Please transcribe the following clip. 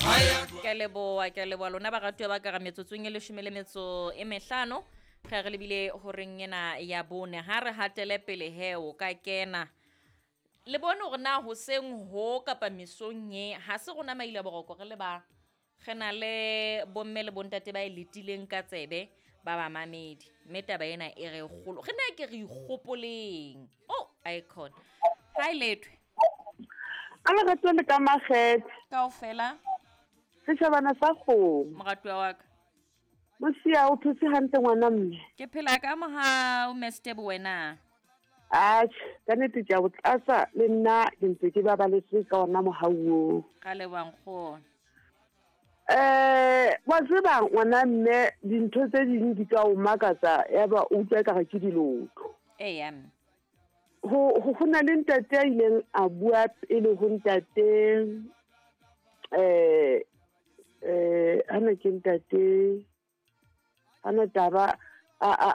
Ke a leboha, ke a leboha lona baratuwa ba ka re metsotsong e leshome le metso e mehlano ge re lebile horeng ena ya bone. Ha re hatele pele he o ka kena. Le bone hore na hoseng ho kapa mesong e ha se rona maila boroko re le bang. Re na le bomme le bontate ba e letileng ka tsebe ba bamamedi. Mme taba ena e re kgolo. Re ne ke re ikgopoleng. Oh, icon. Hi Lethwe. A lerato le ka makgethe. Kaofela. Setjhabana sa kgomo. Moratuwa wa ka. Mosia o phetse hantle ngwana mme. Ke phela ka mohau Mestebo wena. Atjhe, ka nnete ke a o tlatsa le nna ke ntse ke babaletse ka ona mohau oo. Ka leboha nkgono. Wa tseba ngwana mme dintho tse ding di ka o makatsa ya ba o utlwa ekare ke dilotho. Eya mme. Ho na le ntate a ileng a bua pele ho ntate hana ke ntate hana taba a